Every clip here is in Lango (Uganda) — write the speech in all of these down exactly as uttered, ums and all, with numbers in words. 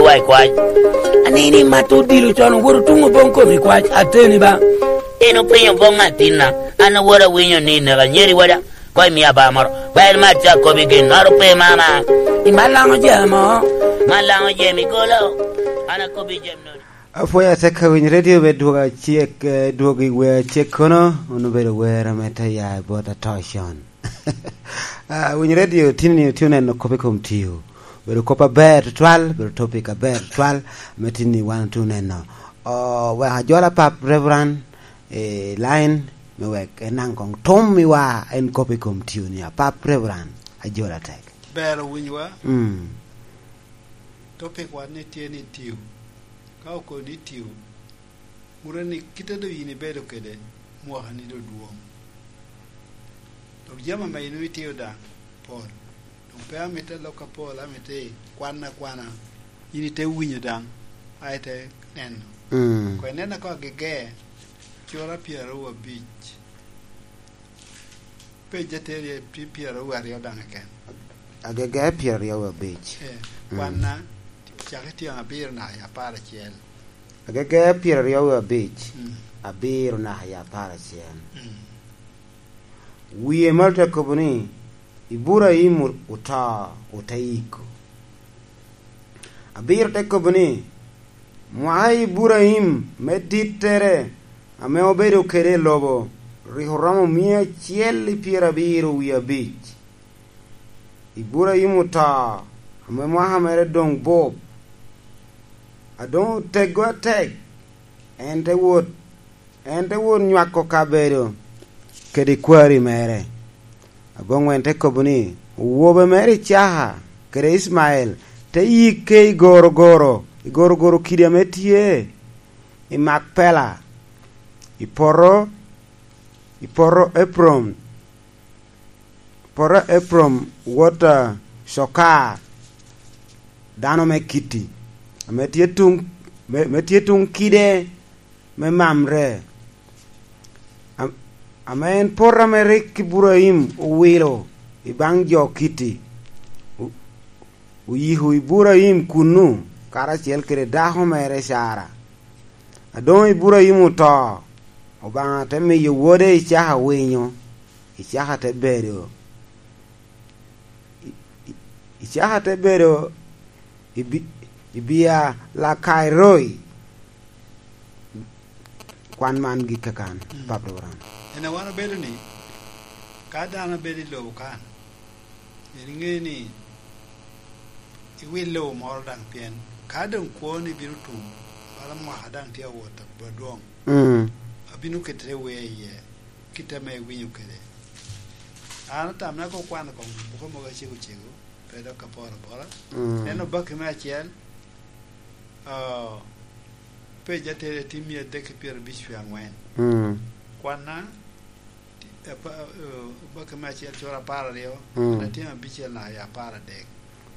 Wa i kwac. Anini mat odilo con, owoto tuŋ oboŋ kom i kwac, ateni ba. En openyo boŋ atinna, an awot awinyo ni neka nyeri wada, kɔc mia ba moro. Ba en mat ca kobi gin noro pe mama. I malaŋo jemo. Malaŋo jemi golo. An akobi jem noni. Apwoyo atek ka winy redio me dwogo acek, eh, dwogo i wer acek kono, on obedo wer ame te ya i bot atocon. Ah, winy redio tini ni otye oneno kop i kom tio. Bedo kop aber tutwal, bedo topic aber tutwal, ame tini wan otye oneno. Oh, wek ajola pap Reverend, eh, line, me wek enaŋ kong tum i wa en kop i kom tio ni apap Reverend, ajola tek. Ber owinyowa. Mm. Topic wan ni tye ni tio. Ka okoni tio, mure ni kite doŋ yin ibedo kede mwaka ni doŋ dwoŋ. Dok jami ame yin itio daŋ pol. Doŋ pe amito lok apol, amito ikwan akwana. Yin ite winyo daŋ, a ite neno. Mm. Kwe nena ko agege, cura pyeraryo abic. Pej ateria tye pyeraryo aryo daŋ keken. Agege pyeraryo abic. Eh, mm. Kwanna, cak i tyen abiro naka i apar acel. Agege pyeraryo abic, mm, abiro naka i apar acel. Mm. Wie malo te kobo ni, Iburaim o-, oto, ote yiko. Abiro te kobo ni, mwaka Iburaim me dittere ame obedo kede i lobo rik oromo mia acel i pyerabiro wie abic. Iburaim oto, ame mwaka mere doŋ bup, a doŋ otego atek, en te wot En te wot nywako kabedo kede kwari mere. Aboŋwen te kobo ni, owobe mere Icaka kede Icmael te yikke i gorogoro, i gorogoro kidi ame tye i Makpela, i poto, i poto Epron, poto Epron wot a Cokar, dano me Kiti, ame tye tuŋ, me, me tye tuŋ kide me Mamre, am-, ame en poto ame rik Iburaim owilo i baŋ jo Kiti. O-, oyiko Iburaim kunnu karacel kede dako mere Cara. A doŋ Iburaim oto, Obaŋa te miyo wode Icaka winyo, Icaka te bedo I-, i-, Icaka te bedo i bi-, i bia Lakairoi. Kwan man gik kakan, mm, Pap Abraham. En a wan obedo ni, ka dano bedo i lobo kan, en iŋe ni iwil lobo moro daŋ, pien ka doŋ kwoni bino tum, bala mwaka daŋ tye awot adwoŋ, mm, abino ketere wer iye. Kit ame iwinyo kede. An atamna koŋ kwano koŋ buke mogo acego cego, pe dok aporo apora. Mm. Ento baki me acel, ah, pej atere tye mia adek ki pyerabic wie aŋwen. Mm. Kwanna, ti-, apa-, eh, baki me acel cura apar aryo, mm, en atye abicel naka i apar adek.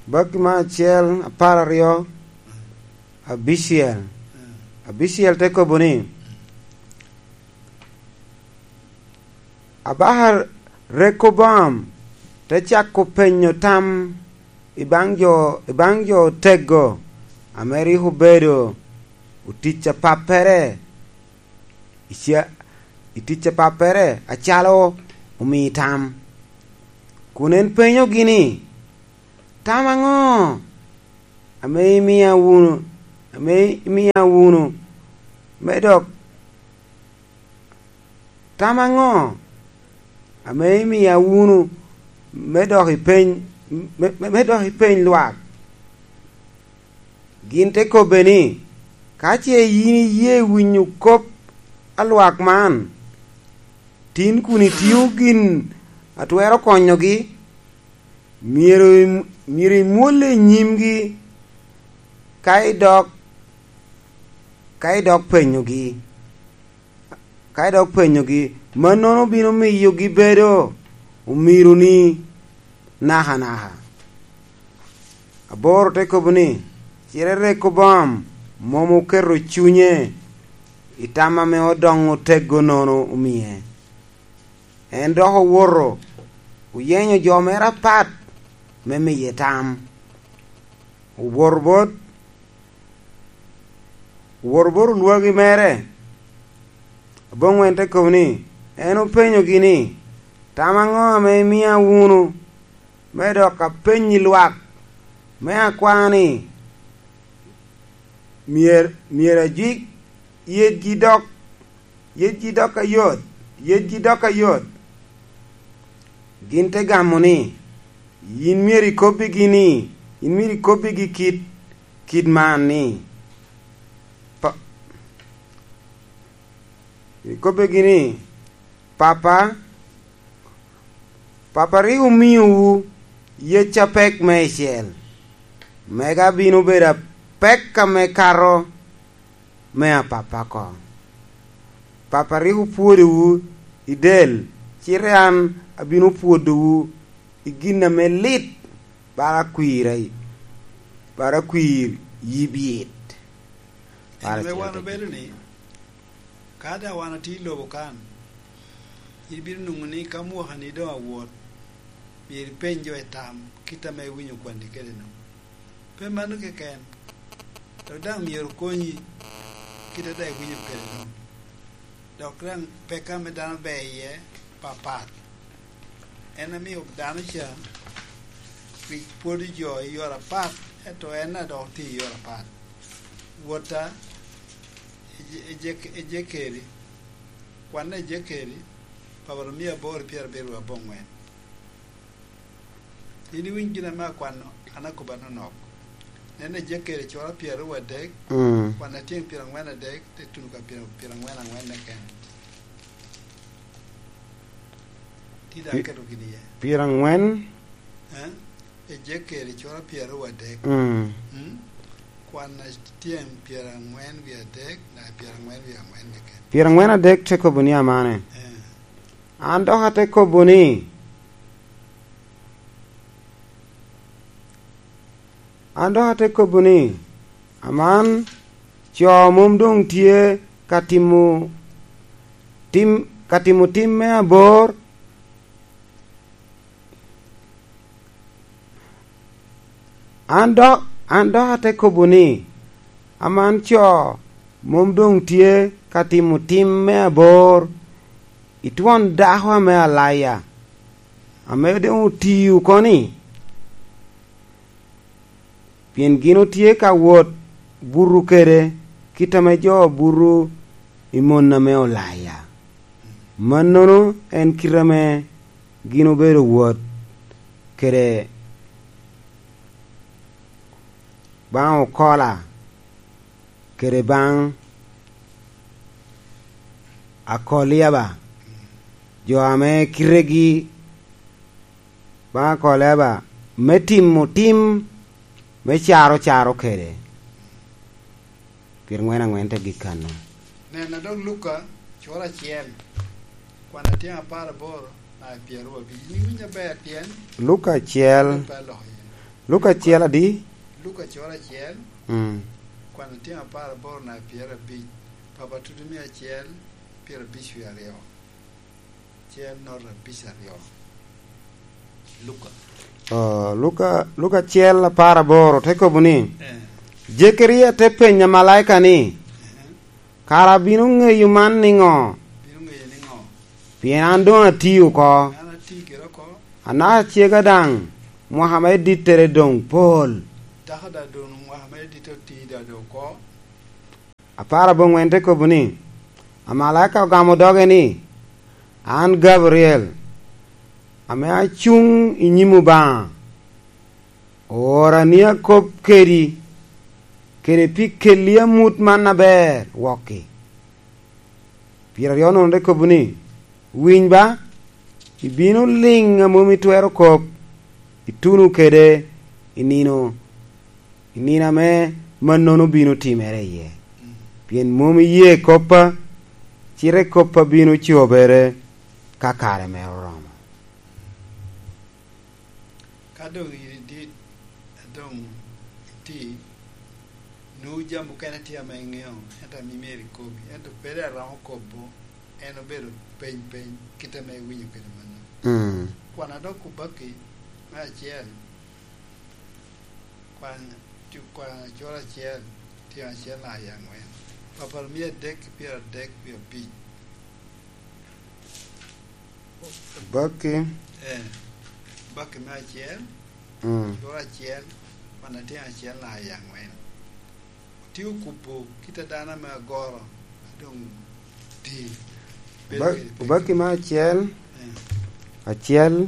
Baki me acel, apar aryo, mm, abicel. Mm. Abicel te kobo ni, Abaka Rekoboam te cako penyo tam i baŋ jo, i baŋ jo otego ame rik obedo otic a pappere, i ca-, i tic a pappere acalo omii tam. Kun en penyogi ni, "Tam aŋo ame imia wunu, ame imia wunu me dok Tam aŋo ame imia wunu me dok ipeny, me, me, me dok ipeny lwak?" Gin te kobbe ni, "Ka ce yin iye winyo kop a lwak man, tin kun itio gin a twero konyogi, myero im-, myero imwolle i nyimgi, ka idok, ka idok penyogi." Ka idok penyogi, mannono bino miyo gibedo omironi nakanaka. Aboro te kobo ni, "Cite Rekoboam mom oketo cunye i tam ame odoŋ otego nono omie. En dok owoto, oyenyo jo mere apat me miye tam. Owoto bot Owoto bot olwagi mere aboŋwen te kobo ni, en openyogi ni, "Tam aŋo ame imia wunu me dok apenyi lwak me akwa ni, myero, myero ajwik yetgi dok, yetgi dok ayot, yetgi dok ayot?" Gin te gamo ni, "Yin myero ikobbigi ni, yin myero ikobbigi kit, kit man ni, pa-, ikobbigi ni, Papa, Papa rik omiowu yec apek meicel, mega bino bedo apek ame kato me a Papa oko. Papa rik opwodowu i del, cite an abino pwodowu i gin ame lit, bala kwir, bala kwir yib it." Ento me wan obedo ni, ka daŋ wan atye i lobo kan, ibino nwoŋo ni ka mwakani doŋ awot, myero ipeny jo i tam kit ame iwinyo kwanni kede-nu. Pe mano keken, dok daŋ myero okonyi kit a daŋ iwinyo kede-nu. Dok daŋ peko ame dano ber iye papat. En amio dano ca rik pwodo jo i yore apat, ento en daŋ dok tye i yore apat. Wot a Ejek-, Ejekeri, kwan Ejekeri, Papa omia aboro pyerabiro aboŋwen. In iwiny gin ame akwano, an akobbi anonok. Nen Ejekeri cura pyeraryo adek, mm, kwan atyeŋ pyeraŋwen adek, te tuno ka pyera-, pyeraŋwen aŋwen keken. Ti daŋ pi-, keto gin iye. Pyeraŋwen? Eh? Ejekeri cura pyeraryo adek. Mm. Mm? Kwan atyeŋ pyeraŋwen wie adek, na pyeraŋwen wie aŋwen keken. Pyeraŋwen adek te kobo ni amane. Eh. An dok ate kobo ni, an dok ate kobo ni, aman co mom doŋ tye ka timo tim, ka timo tim me abor. An dok, an dok ate kobo ni, aman co mom doŋ tye ka timo tim me abor i twon dako ame alaya, ame doŋ oti oko-ni, pien gin otye ka wot buto kede kit ame jo buto i mon ame olaya. Mannono en kite ame gin obedo wot kede baŋ Okola kede baŋ Akoliaba, jo ame kitegi baŋ Akoliaba me timo tim me caro caro kede. Pyeraŋwen aŋwen te gik kanno. Nena dok Luka, cura acel, kwan atyeŋ apar aboro, na pyeraryo abic. In iwinyo aber pien Luka acel. Pe aloko iye. Luka acel adi? Luka cura acel, mm, kwan atyeŋ apar aboro, na pyeraryo abic. Papa tutu mia acel, pyeraryo abic wie aryo. Acel nota abic aryo. Luka. Oh, Luka, Luka acel apar aboro te kobo ni, eh, Jekaria te penyo amalaika ni, eh, "Kara abino ŋeyo man niŋo? Abino ŋeyo niŋo? Pien an doŋ ati oko. An ati kede oko. Anaka cega daŋ, mwaka me dittere doŋ pol." Dako daŋ doŋ mwaka me ditte oti daŋ doŋ oko. Apar aboŋwen te kobo ni, amalaika ogamo doge ni, "An Gabriel, ame acuŋ i nyim Obaŋa, oora ni akob kedi, kede pi kelli amut man aber wokki." Pyeraryo nono te kobo ni, "Winy ba, ibino liŋ a mom itwero kop, ituno kede i nino, i nino ame mannono bino timere iye. Pien mom iye koppa, cite koppa bino cobere ka kare mere oromo." Ka doŋ iri dit, a doŋ iti, nwoŋo jami mukene tye ame iŋeo, ento ame myero ikobi, ento pe daŋ iromo kobo, en obedo peny peny, kit ame iwinyo kede mano. Mm. Kwan a dok Kubaki, me acel, kwan, cu-, kwan acel acel, tyen acel na i aŋwen. Apar mia adek ki pyeradek wie abic. Baki. Eh, baki me acel, mm, coro acel, wan atye acel na i aŋwen. Otye okubo kit a dano ame agoro, a doŋ ti. Ba-, baki me acel, eh, acel,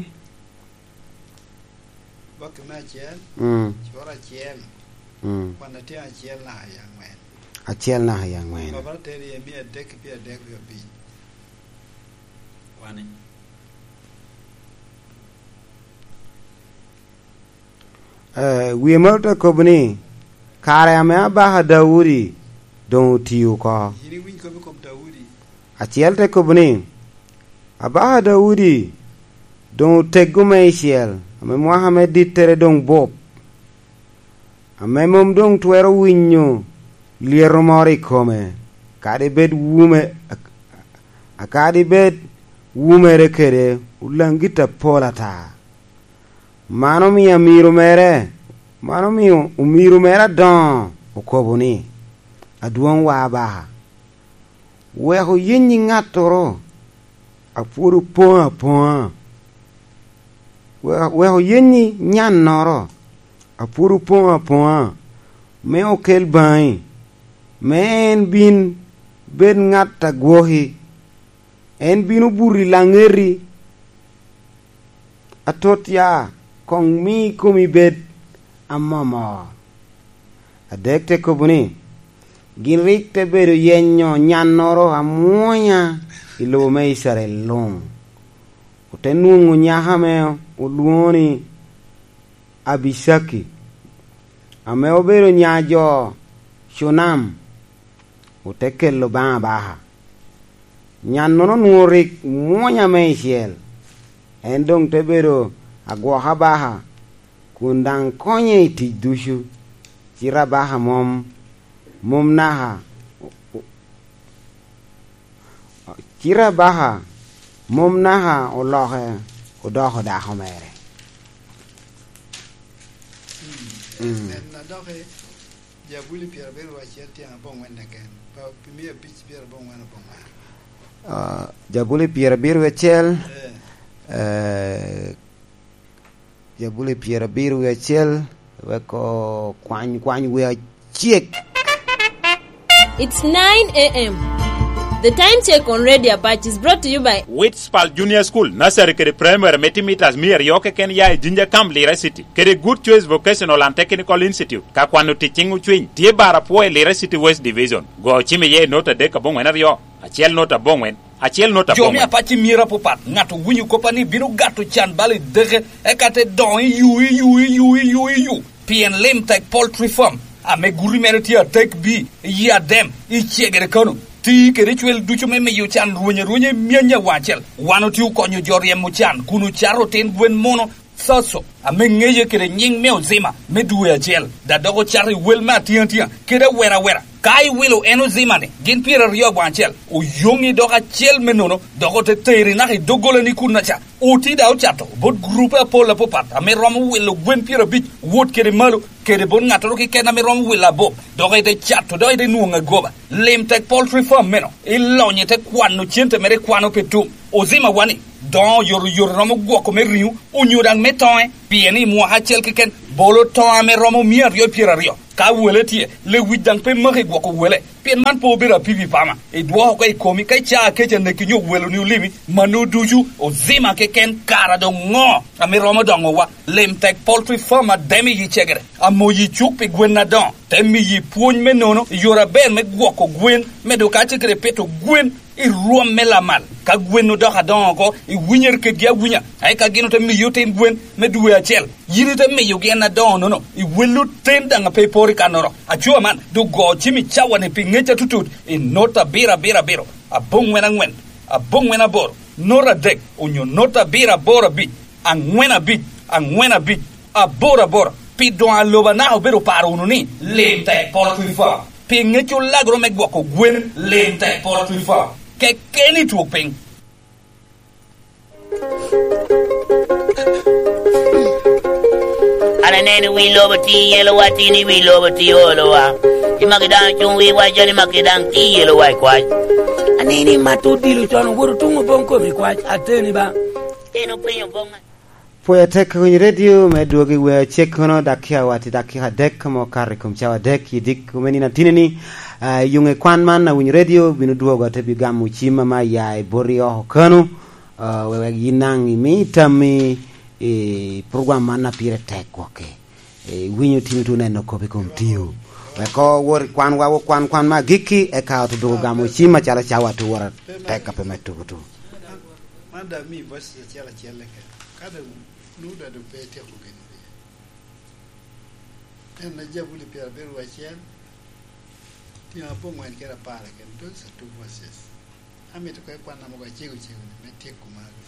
Baki me acel, mm, coro acel, mm, kwan atye acel naka i aŋwen. Acel naka i aŋwen. Baba ateri i mia adek ki pyeradek wie abic. Kwani. Eh, wie moro te kobo ni, kare ame abaka Daudi doŋ oti oko. Yin iwiny kop i kom Daudi. Acel te kobo ni, "Abaka Daudi doŋ oteggo meicel, ame mwaka me dittere doŋ bup, ame mom doŋ twero winyo lyeto moro i kome, kadi bed wume, kadi bed wumere kede olaŋ git apol ata." Man omio amiro mere, man omio omiro mere adoŋo okobo ni, "Adwoŋwa abaka, wek oyenni ŋattoro a pwod opoŋo apoŋa, wek, wek oyenni nyannoro a pwod opoŋo apoŋa me okel baŋi, me en bin bed ŋat a gwoki." En bino buto i laŋeti atot ya, koŋ mi komi bed amomor. Adek te kobo ni, gin rik te bedo yenyo nyannoro amwonya i lobo me Icrael luŋ. Ote nwoŋo nyako ame olwoŋo ni Abicaki, ame obedo nya jo Cunam, ote kelo baŋ abaka. Nyannono onwoŋo rik mwonya meicel, en doŋ te bedo agwok abaka, kun daŋ konye i tic ducu, cite abaka mom, mom naka, cite abaka mom naka oloke odoko dako mere. Mm. En, en adoki. Jabuli pyerabiro acel tyen aboŋwen keken, pa pi mia abic pyeraboŋwen aboŋwen. Ah, Jabuli pyerabiro acel, eh, eh, Jabuli pyerabiro acel, wek okwany, kwany wi acek. It's nine a m. The time check on Radio Apache is brought to you by Witspal Junior School, Nursery kede Primary me timitas mia aryo keken ya i Jinja Camp, Lira City, kede Good Choice Vocational and Technical Institute. Ka kwano tic ciŋ ocwiny, tye bar apwo i Lira City West Division. Go ocim iye i not adek aboŋwen aryo, acel not aboŋwen, acel not aboŋwen. Jo me Apache myero apapat, ŋat owinyo koppa ni bino gato can bal i deke, eka te doŋo i yu, i yu, i yu, i yu, i yu. Pien Lim Tek Poultry Farm, ame guti mere tye atek bi, i Adem, i Cegere Kano, ti kede cwel ducu me miyo can rweny arwenya i myany awaŋ acel. Wan otye okonyo jo ryemo can kun ocato otin gwen muno, Thotho, ame ŋeye kede nyiŋ me Ozima me dwe acel, da dok ocato i wel me atiŋatia kede awera awera. Ka iwilo en Ozima-ni, gin pyeraryo aboŋ acel, oyoŋi dok acel me nono, dok ote teri naka i doggolani kunnaca. Oti da ocato bot gurupe apol apapat ame romo wilo gwen pyerabic, wot kede malo, kede bot ŋattoro keken ame romo wilo abup, dok ite cato, dok ite nwoŋo agoba. Lim Tek Poultry Farm meno, ilonyo ite kwano cente mere, kwano pe tum. Ozima wani, doŋo oyotoyot romo gwoko me riŋo, onyo daŋ me toŋe, pien i mwaka acel keken, bolo toŋo ame romo mia aryo pyeraryo. Ka wele tye, lewic daŋ pe maki gwoko wele, pien man pe obedo apipi pama. Idwoko oko i komi ka icaa kec aneki nyo weloni olimi, mano ducu Ozima keken, kara doŋ ŋo ame romo doŋowa? Lim Tek Poultry Farm Adem i Cegere, amoyi cuk pi gwen adoŋo, te miyi pwony me nono i yore aber me gwoko gwen, medo kacel kede pito gwen i rwom me lamal. Ka gwen odoko adoŋo oko, iwinyere kedgi awinya, eka gin ote miyi otin gwen me dwe acel. Yin ite miyogi en adoŋo-nono, iwello ten daŋ a pe iporo i kannoro. Aco man, doŋ go cim i cawa-ni pi ŋec atutut i not abiro abiro abiro, aboŋwen aŋwen, aboŋwen aboro, not adek, onyo not abiro aboro abic, aŋwen abic, aŋwen abic, aboro aboro, pi doŋ aloba naka obedo paro wunu ni, Lim Tek Poultry Farm. Pi ŋec olagoro me gwoko gwen, Lim Tek Poultry Farm. Kekeni twok piny. Aneno wi lobo ti yelowa, tin i wi lobo ti olowa. I maki daŋ cuŋ wi wac, joni maki daŋ ti yelowa i kwac. Aneno i mat odilo con, owoto tuŋ oboŋ kome i kwac, ateni ba. En openyo boŋ. Pwod atek Winyo Redio me dwogo i wee acek kono, dakika wati dakika adek mo kato i kom cawa adek i dik me nino atini-ni. Ah, i yuŋe kwan man a Winyo Redio bino dwogo, ate bi gamo cim ame aya i boti oko kano, ah, wek yin daŋ imi tammi i program man a pire tek gwokke. Eh, winyo tin otu neno kop i kom tio. Wek owot i kwanwa, wok kwan kwan me agikki, eka ote dwogo gamo cim acalo cawa ate wot atek a pe me tuko tuko. Man daŋ mi verses acel acel keken. Ka daŋ nwoŋo daŋ doŋ pe ityeko gin ori. En na Jabuli pyerabiro wiye acel, tyen aboŋwen kede apar keken, those are two verses. Amito ka ikwanna mogo acego cego ni me tyeko magi.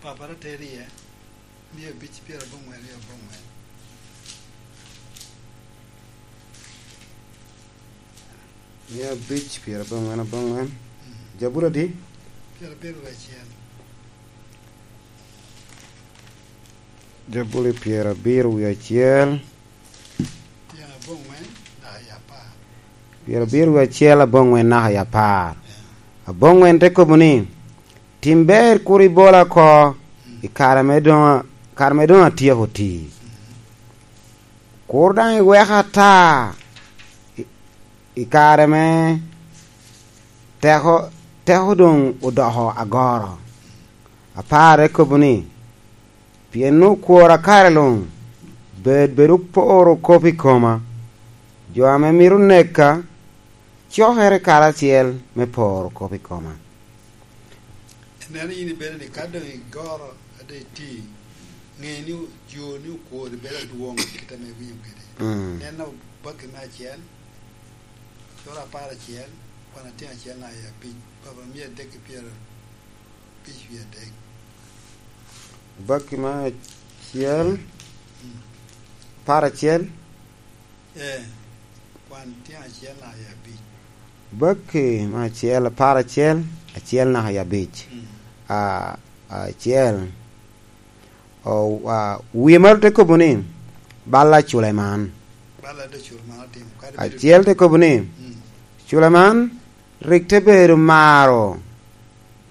Papa Rotary, eh? Mia abic pyeraboŋwen i aboŋwen. Mia abic pyeraboŋwen aboŋwen. Mm. Jabuli adi? Pyerabiro wiye acel. Jabuli pyerabiro wiye acel. Tyen aboŋwen naka i apar. Pyerabiro wiye acel aboŋwen naka i apar. Yeah. Aboŋwen te kobo ni, "Tim ber, kur ibola oko i kare me doŋ, kare me doŋ atyeko tii. Kur daŋ iweka ata i, i kare me teko, teko doŋ odoko agoro." Apar te kobo ni, "Pien okwora kare luŋ, bed, bed oporo kop i koma. Jo ame mito neka, cokere karacel me poro kop i koma." Ineno yin ibedo ni ka doŋ igoro ade iti, ŋe ni jo ni okwori bedo adwoŋ kit ame iwinyo kede. Mm. Neno Obakki me acel, cura apar acel, kwan atyen acel naka i abic, Papa mia adek ki pyero abic wie adek. Obakki me acel, mm, apar acel. Ee, kwan tyen acel naka i abic. Obakki me acel, apar acel, acel naka i abic. Mm. A, acel. O, a, wie maro te kobo ni, bal a Culeman. Bal a Culeman otimo, kadi bedo acel te kobo ni, mm, Culeman rik te bedo maro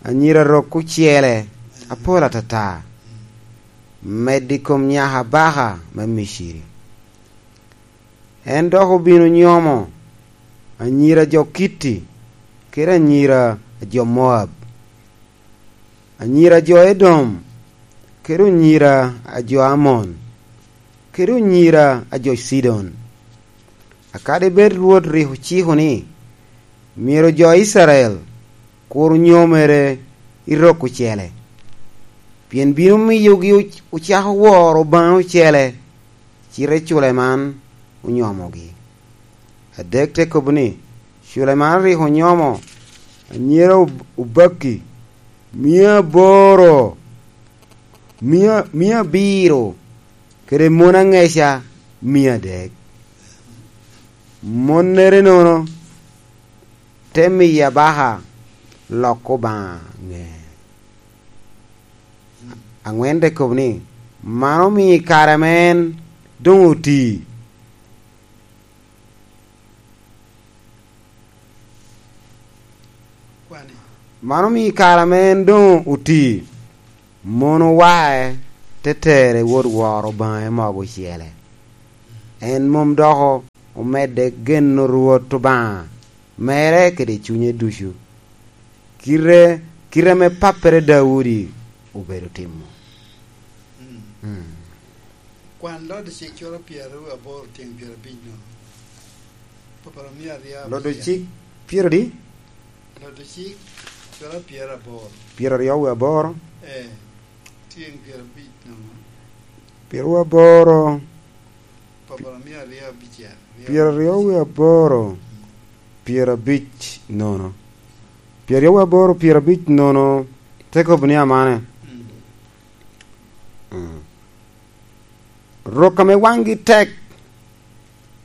anyira rok ocele apol atata, mm, medo i kom nyaka Baaka me Miciri. En dok obino nyomo anyira jo Kitti kede anyira a jo Moab, anyira jo Edom, kede onyira a jo Amon, kede onyira a jo Cidon. A kadi bed Rwot rik ociko ni myero jo Icrael kur onyomere i rok ocele, pien bino miyogi oc-, ocako woro Obaŋa ocele, cite Culeman onyomogi. Adek te kobo ni, Culeman rik onyomo anyira ob-, obakki mia aboro, mia, mia abiro, kede mon aŋeca mia adek. Monnere nono te miyo Baaka lok Obaŋa ŋe. Aŋwen te kobo ni, man omio i kare ame en doŋ oti. Man omio i kare ame en doŋ oti, mon owae te tere wot woro Obaŋa i mogo ocele. En mom doko omedde geno Rwot Obaŋa mere kede cunye ducu, kite, kite ame pappere Daudi obedo timo. Mm. Mm. Kwan Lod Cik cura pyeraryo aboro tyen pyerabic nono. Papara mia aryo Lod abicel. Cik pyeradi? Lod Cik cura pyeraboro. Pyeraryo wie aboro. Eh, tyen pyerabic nono. Pyeraryo aboro. Papara mia aryo abicel. Pyeraryo wie aboro, pyerabic nono. Pyeraryo wie aboro, pyerabic nono, te kobo ni amane. Mm. Mm. Rok ame waŋgi tek,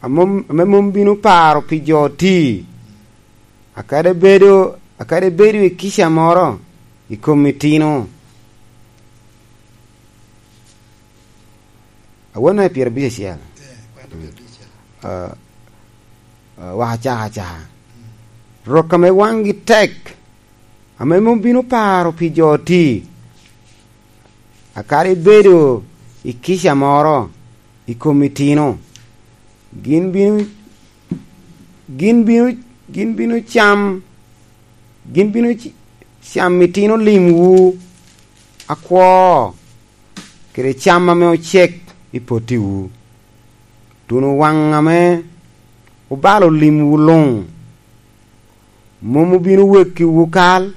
a mom, ame mom bino paro pi jo oti, a kadi bedo, a kadi bedo i kica moro i kom itino, Awene pyerabicel. Eh, kwano pyerabicel. Ah, ah, waka caka caka. Rok ame waŋgi tek, ame mom bino paro pi jo oti. Akadi ibedo i kica moro i kom itino, gin bino, gin bino, gin bino cam, gin bino c-, cam itino limwu akwo, kede cam ame ocek i pottiwu. Tuno waŋ ame obalo limwu luŋ mom obino wekkiwu kal,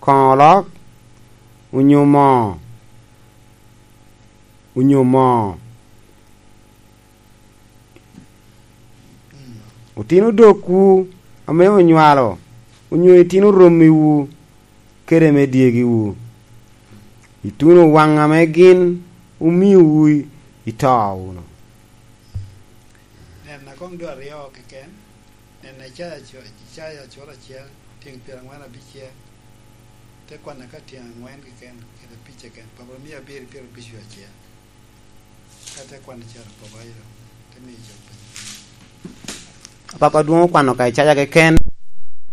koŋo olok, onyo moo, onyo moo. Otino dokwu ame onywalo, onyo itino rommiwu, kede me dyegiwu. Ituno waŋ ame gin omiowu i, ito wunu. Nena koŋ dwe aryo keken, nena Icaya co-, Icaya cura acel, tyeŋ pyerangwen abicel, te kwanne ka tyeŋ angwen keken, kede abic keken, Papa mia abiro pyerabic wie acel. Ka te kwanne cito Papa ilo, te miyo cok piny. Papa dwong okwano ka Icaya keken.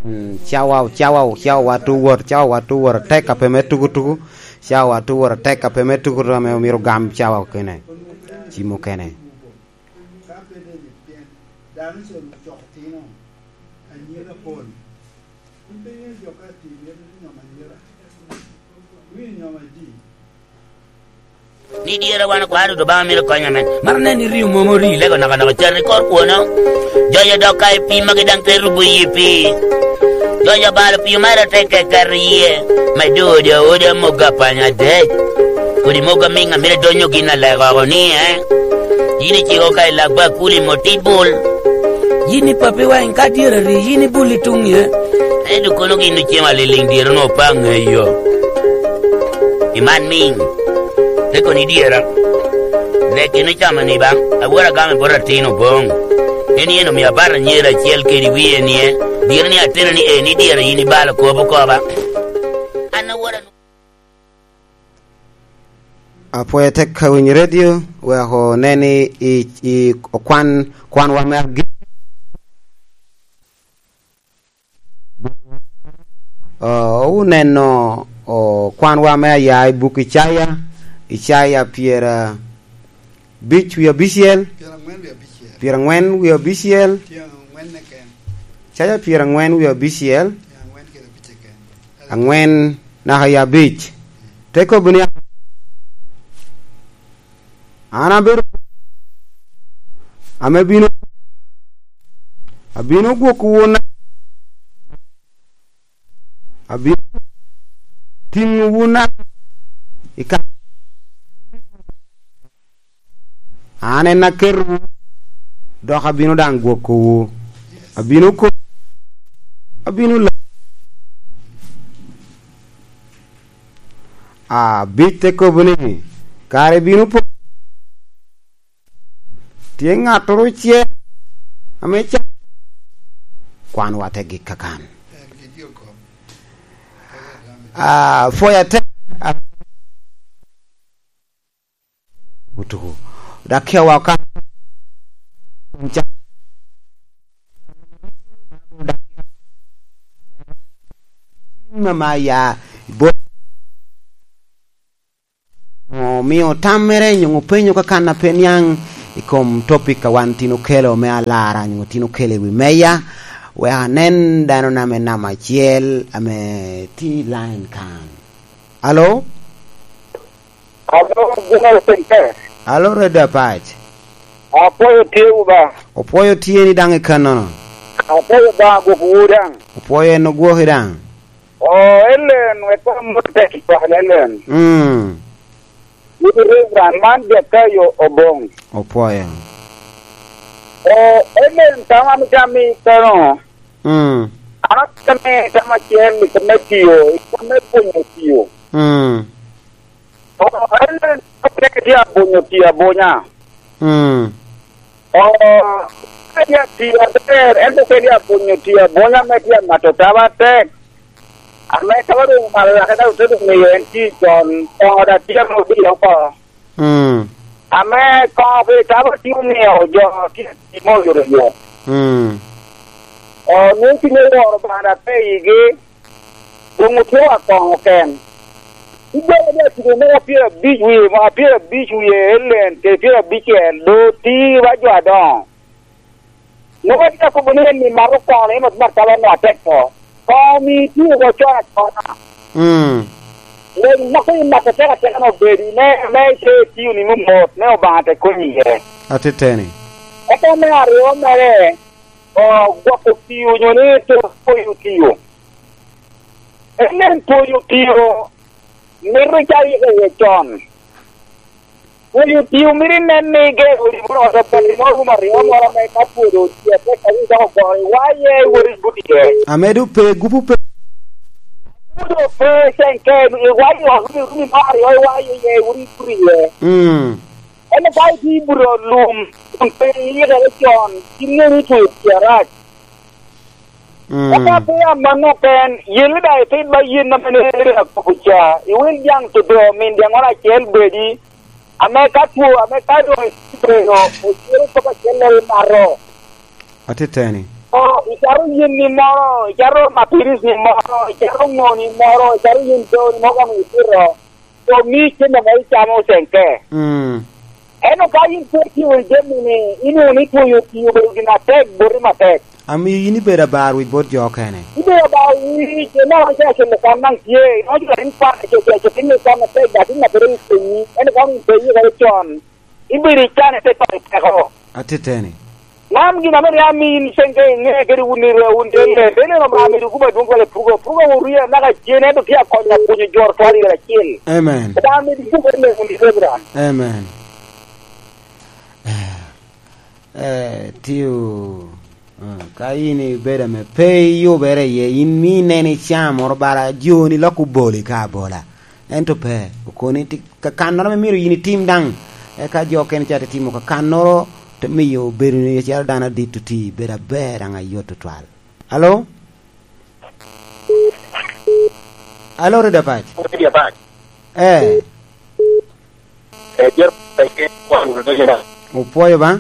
Mm, cawa, cawa, cawa wa tu wot, cawa wa tu wot atek ape me tuku tuku, cawa wa tu wot atek ape me tuku tuku ame omiro gam cawa okene. Ci mukene. Ka pe deni pien dano ocero ocoko tino anyira pol, in pe iŋeo jo ka tye myero ni nyom anyira, iwinyo nyom adi? Ni dyere wan okwano duto Obaŋa mito kony amen. Mano nen ni rio mom ori lego nakanaka cer ni kor kwono. Jojo dok ka i pii magi daŋ te rubo yi pii. Jojo balo pii omera te kekero yie. Me do odi aoda mogo apanya adek. Kodi mogo amiŋ amito donyo gin alego oko ni, eh? Yin iciko ka i lak bakuli mot i bul. Yin i papi wany ka dyere ri, yin i bul i tuŋ ye. Ento kono gin ocemo aliliŋ dyere onwoŋo pe aŋeyo. I man miŋ, te kono i dyera. Nek gin ocamo ni ba, awor agamo i bot atin oboŋ. En yen omio abato anyira acel kede wie nie, dyere ni ateni ni eni dyere yin ibalo kop okoba. An awor anu- Apwoyo tek ka winyo redio, wek onen i, i, i okwan, kwanwa me agi-, o, oneno, o, kwanwa me aya i buk Icaya, Icaya pyera abic wie abicel, Pyerangwen wie abicel. Pyerangwen wie abicel, Tyeŋ angwen keken. Icaya pyerangwen wie abicel, Tyeŋ angwen kede abic keken. Angwen naka i abic. Te kobo ni, "An abedo ame bino, abino gwoko wun, abino tiŋo wun i ka-, an en aketowu, dok abino daŋ gwokowu. Abino ko-, abino la-," Abic te kobo ni, "Kare bino po, tye ŋattoro ocel ame ca-," kwanwa te gik kakan. Ah, pwoya tek, ah, tuku. Dak kea wa ka, mama ya, bo-, omio tammere nyo openyo kakan a pe niaŋ i kom topic a wan tin okelo me alara nyo tin okelo i wi meya, wek anen dano na me namba acel ame tye i line kan. Alo? Alo, General Secretary. Alo, Red Apac. Apwoyo tye wu ba. Opwoyo tye ni daŋ i kannono. Apwoyo ba gwok wu daŋ. Opwoyo en ogwoki daŋ. O, Ellen, wek amot tek i kwak Ellen. Mm. Wu Reverend, man Jakayo Oboŋ. Opwoyo. O, Ellen, tam an tam i kono. Mm. An atye ame tam acel i kome tiyo, i kome pwonyo tiyo. Mm. O, en, en, en tye abonyo tye abonya. Mm. O, en tye atiyo aber, en tye abonyo tye abonya me tye amato taba atek. Ame taba doŋ omalo lake dok te doŋ miyo en tye con, koŋo da tye ame odiro oko. Mm. ame koŋo pi tabo tye omio jo tye i tim oyotoyot. Mm. O, nwoŋo cuny oworo bana pe igi, doŋ otye wa koŋo ken. Igwero ni atugo mogo pyerabic wie, mogo pyerabic wie elen, kede pyerabicel, do ti wa jo adoŋo. Nwoŋo atye akobo ni eni mato koŋo, ni mat, mat kaba nwa atek to. Koŋo mi tio oko con acona. Mm. Lweny moko i mat atek atek an obedi, me, me ite tio ni momot, me Obaŋa te konyi iye. Atiteni. Eka me aryo mere, o, gwoko tio onyo ni to poyo tio. En en poyo tio, mito icak ika iye con. Pwod otio mito inen ni igero odi moro ot apati moro room aryo moro ame ka pwod otye atek a rik dok ogoro iwayo iye iwot ibut iye. Ame doŋ pe, gupu pe. Pwod ope cen ke iwayo i ot room, room moro aryo iwayo iye iwot ibut iye. Mm. Ento ka itye i buto lum kun pe iyikere con, gin ŋeo ni itweyo tye arac. Mm. Eka pe amanno ken, yen ni daŋ itid ba yen ame rik akobo ca, iwil jaŋ toto, min jaŋoro acel bedi, ame ka two, ame ka doŋ ibedo, ocero kop acel imato. Atiteni. O, icato yen ni moro, icato mapiris ni moro, icato ŋo ni moro, icato yen do ni moro kong ipito. Omi cen ame icamo ocenke. Mm. Ento ka yin pe itio wunu jami-ni, inwoŋo ni twoyo tii obedo gin atek boti matek. Amiyo yin ibedo abar wic bot jo okene. Ibedo abar wic, ineno ni acel kan daŋ tye, ineno jo in kwan acel acel, in kwan atek, dok in abedo i kenyi. Ento ka wun pe iyikere con, ibedo i can, ite koko i peko. Atiteni. Man gin ame rik amiyi in cen ka iŋe kede wun i rweo wun te ler. Te neno Obaŋa medo kubo adwoŋ kwala pugo. Pugo wun rie anaka cen, ento tye akonyo apwonyo jo twal i acel. Amen. Obaŋa medo kubo i ler wun i Reverend. Amen. Eh, eh, tio, eh, ka in ibedo ame pe iyubere iye, in mi inen icaa moro bala joni lok oboli ka abola. Ento pe, okoni ti-, kakannoro ame myero yin itim daŋ, eka jo okene ca te timo kakannoro, te miyo bedo ni acalo dano adit oti, bedo aber daŋ ayot tutwal. Alo? Alo, Rida Pac? Rida Pac. Eh. Eh, Jer-, eh, eh, kwan, eh, eh. Opwoyo ba?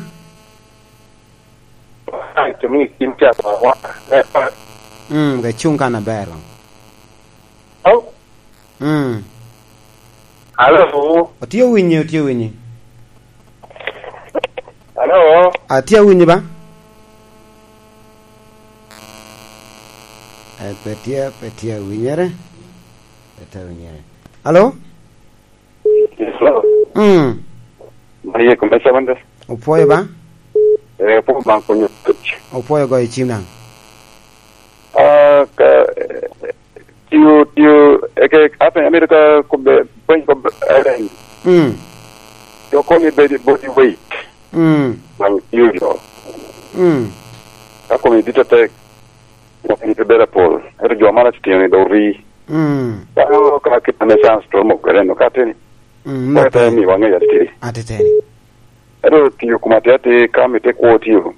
Ai, to mi kin ca ba wa. Eh, eh. Mm, ga cuŋ kan aber ba. Alo? Mm. Alo? Otye winyi, otye winyi. Alo? Atye awinyi ba? Eh, pe tye, pe tye awinyere. Pe tye awinyere. Alo? Yes, hello. Mm. Mano ye kome seven days. Opwoyo ba? Eh, opwoyo Obaŋa konyo. Opwoyo goyo cim daŋ. Ah, ka, eh, tiyo, tiyo, eke, ape, amito ka kobbe, pweny kobbe, eh, Mm. jo koni bedi body weight. Mm. Daŋ tiyo jo. Mm. Ka komi dit atek, dok in pe bedo apol. Ento jo mara titino ni dok ri. Mm. Dano ka kit ame chance to mo kwede no ka teni. Mm, Kwa no te pe. Mi wange ya titiri. Atiteni. Ento tiyo kuma te ati ka mi te kwo tiyo.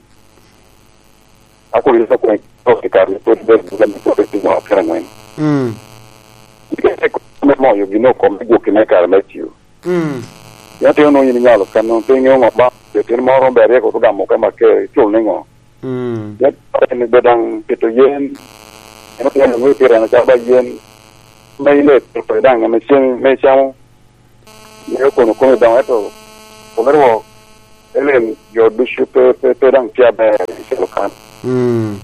Ako yesa kwen to te kar ni pwod ber buga ni pwod te mo kera ngwen. Mm. Ike te ko me mo yo gino kom me gwoki me kare me tiyo. Mm. Ya te ono yin nyalo kano pe ngeyo ngo ba. Te tin moro ber ye ko to gamo ka ma ke chul ni ngo. Mm. Yet en be daŋ pito yen, en otye nwoŋo pire na calo ba yen, ma ile pito daŋ ame cen me camo, miyo kono kome daŋ, ento kome rwok, elen jo ducu pe, pe, pe daŋ tye aber i celo kan. Mm.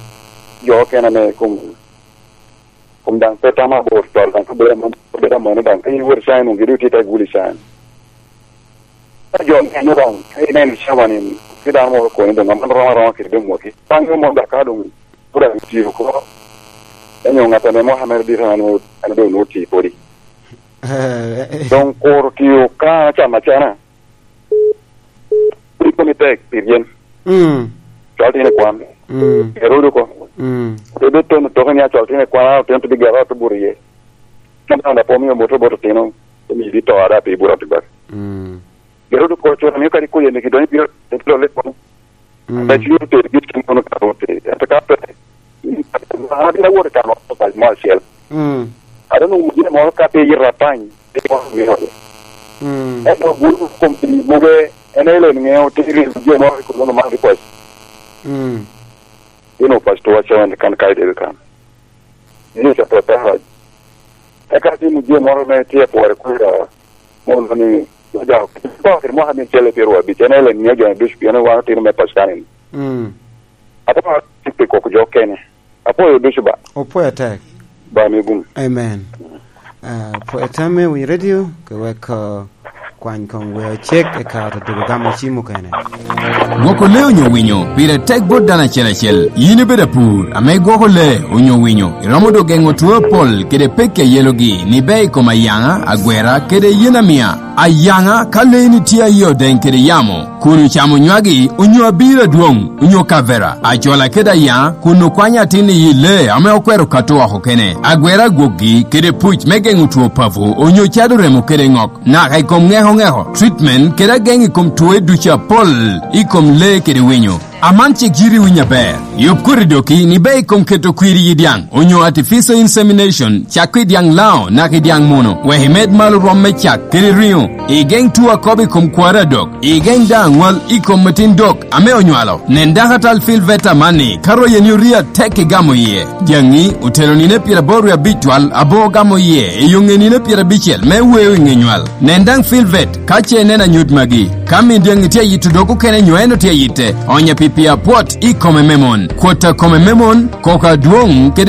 Jo okene ame kom Kun daŋ pe tamo abor col, daŋ ka bedo amono, bedo amono daŋ, ka in iwot i can, onge dok itye i te guli can. Ka jo neno daŋ, ka ineno i cawa ni, tye dano moro okoni doŋ, aman rom aroma kede doŋ mwaki. Baŋ yo moro daŋ ka doŋ, pud daŋ tye oko. Ento ŋat ame moko ame dit an, an doŋ onwoŋo tye podi. Doŋ kuro tiyo ka acamo acana. Piny koni tek pi ryen. Mm. Cwal tin i kwan. Mm. Erodo ko. Mm. Te bed tono toke ni acwal tin i kwan, a otino te bigero, a te buro iye. Kan kan da po miyo moto boto tino, te miyo bito ada pi buro tibak. Mm. Erodo ko cura miyo kadi koye ni kidonyo biro, te biro le kono. Mm. Ame cwiny oter git kin kono ka oter. Ento ka pe, an abino awot i kano obac mo acel. Mm. Ate nwoŋo mujina moro ka pe yito apany, pe moro miyo. Mm. Ento guro kom pi moge, Elen ŋeo tiri jo mo i kuluno man ripoc. Mm. Ino pastor wacho en kan kai debe kan. Ni sa prepare. Eka timo jo moro me tye pwore kwira mono ni oja ko kiri mwaka mi cele pyero abic. En elen ŋeo jo ducu pien wan otino me pastor ni. Mm. Ate ma tipe koko jo kene. Apwoyo ducu ba. Opwoyo atek. Ba mi gum. Amen. Ah, pwoyo tamme wi radio, ke wek, ah, kwany kong weo cek, eka oto dwogo gamo cim okene. Gwoko lee onyo winyo pire tek bot dano acel acel. Yin ibedo apur, ame igwoko lee onyo winyo, iromo dok geŋo two apol kede pekki a yelogi, ni ber i kom ayaŋa, agwera, kede yen amia. Ayaŋa, ka lee-ni tye aye odeŋ kede yamo, kun ocamo nywagi, onyo abiro adwoŋ, onyo kavera, acola kede ayaŋa, kun okwanyo atin i yi lee ame okwero kato oko kene, agwera agwokgi, kede puc me geŋo two papo, onyo cado remo kede ŋok, naka i kom ŋeko ŋeko, treatment, kede ageŋ i kom twoe ducu apol i kom lee kede winyo. Aman cik yiti winyo aber. Yub koti doki ni ber i kom keto kwir i dyaŋ, onyo artificial insemination, cak i dyaŋ lao naka i dyaŋ muno, wek imed malo rwom me cak kede riŋo. Igeŋ tuo akobo i kom kwari adok. Igeŋ daŋ aŋwal i kom atin dok ame onywalo. Nen dakatal Phil Veta amanni, ka royeni orie atek i gamo iye. Dyaŋi otero nino pyeraboro wie abic twal abo gamo iye i yo ŋe nino pyerabicel me weo i ŋe nywal. Nen daŋ Phil Vet ka ce ineno anyut magi. Ka min dyaŋi tye ayito dog okene nyo en otye ayitte, onya pi pii apwot i kome me mon. Kwot a kome me mon, koko adwoŋ kede